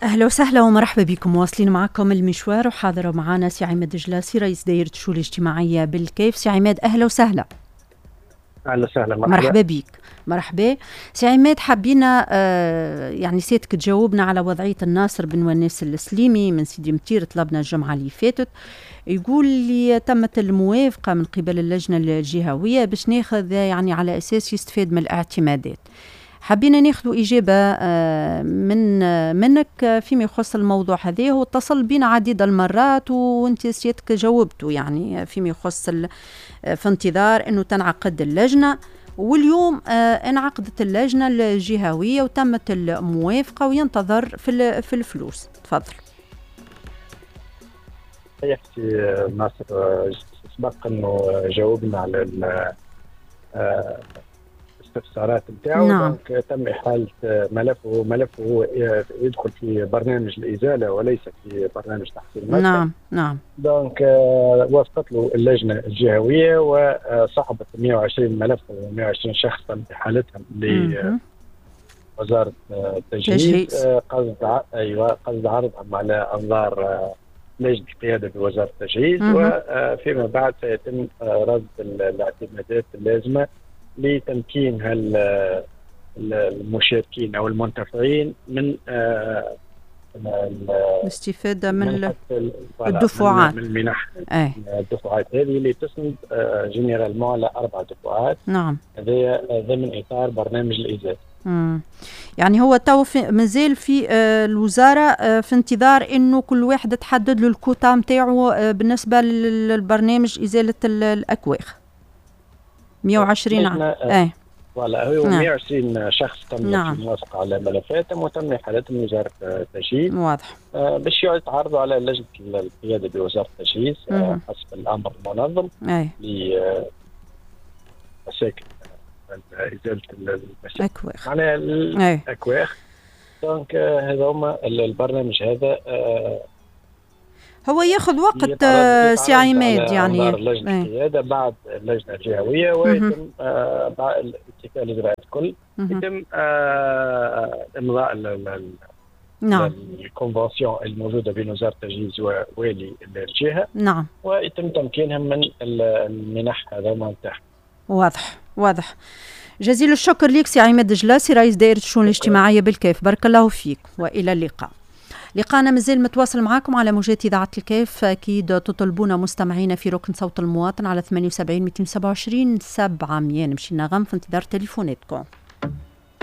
أهلا وسهلا ومرحبا بكم، واصلين معكم المشوار وحاضر معنا سي عماد جلاسي رئيس دائرة الشؤون الاجتماعية بالكيف. سي عماد أهلا وسهلا. أهلا وسهلا، مرحبا، مرحبا بك. مرحبا سي عماد، حبينا يعني سيادتك تجاوبنا على وضعية الناصر بن وناس السليمي من سيدي متير. طلبنا الجمعة اللي فاتت، يقول لي تمت الموافقة من قبل اللجنة الجهوية باش ناخذ يعني على أساس يستفاد من الاعتمادات. حبينا ناخذ إجابة منك فيما يخص الموضوع هذا. هو اتصل بنا عديد المرات وانت سيادتك جاوبته يعني فيما يخص في انتظار انه تنعقد اللجنة، واليوم انعقدت اللجنة الجهوية وتمت الموافقة وينتظر في الفلوس. تفضل. يا ناصر، سبق انه جاوبنا على الاستفسارات نتاعو. نعم. donc تم إحالة ملفه، ملفه يدخل في برنامج الإزالة وليس في برنامج تحصيل المسكن. نعم نعم. donc وافقت له اللجنة الجهوية وصحبت 120 ملف و120 شخص تم إحالتهم لوزارة التجهيز قصد قصد عرضهم على أنظار لجنة القيادة بوزارة التجهيز، وفيما بعد سيتم رصد الاعتمادات اللازمة لتمكين المشاركين او المنتفعين من الاستفادة من الدفعات، من المنح. الدفعات هذه اللي تسند généralement على 4 دفعات. نعم. هذا ضمن اطار برنامج الازالة. يعني هو تو مازال في الوزارة في انتظار انه كل واحد تحدد له الكوتا نتاعو بالنسبة للبرنامج ازالة الاكواخ 120 عام. voilà، هو 120 شخص تم الموافقة على ملفاتهم وتم احالتهم لوزارة التجهيز. واضح. باش يتعرضوا على لجنة القيادة بوزارة التجهيز حسب الامر المنظم لمساكن ازالة المساكن معناها الاكواخ. donc هذا هما البرنامج هذا هو ياخذ وقت سي عماد، يعني لجنة القيادة بعد اللجنة الجهوية ويتم بعد اتكال الاجراءات الكل يتم امضاء نعم ال convention الموجودة بين وزارة التجهيز ووالي الجهة. نعم. ويتم تمكينهم من المنح هذا نتاعهم. واضح واضح. جزيل الشكر لك سي عماد جلاسي رئيس دائرة الشؤون الاجتماعية بالكيف، بارك الله فيك والى اللقاء. لقانا مازال متواصل معاكم على موجات إذاعة الكيف. أكيد تطلبونا مستمعينا في ركن صوت المواطن على 78 227 700. نمشي نغم في انتظار تليفوناتكم.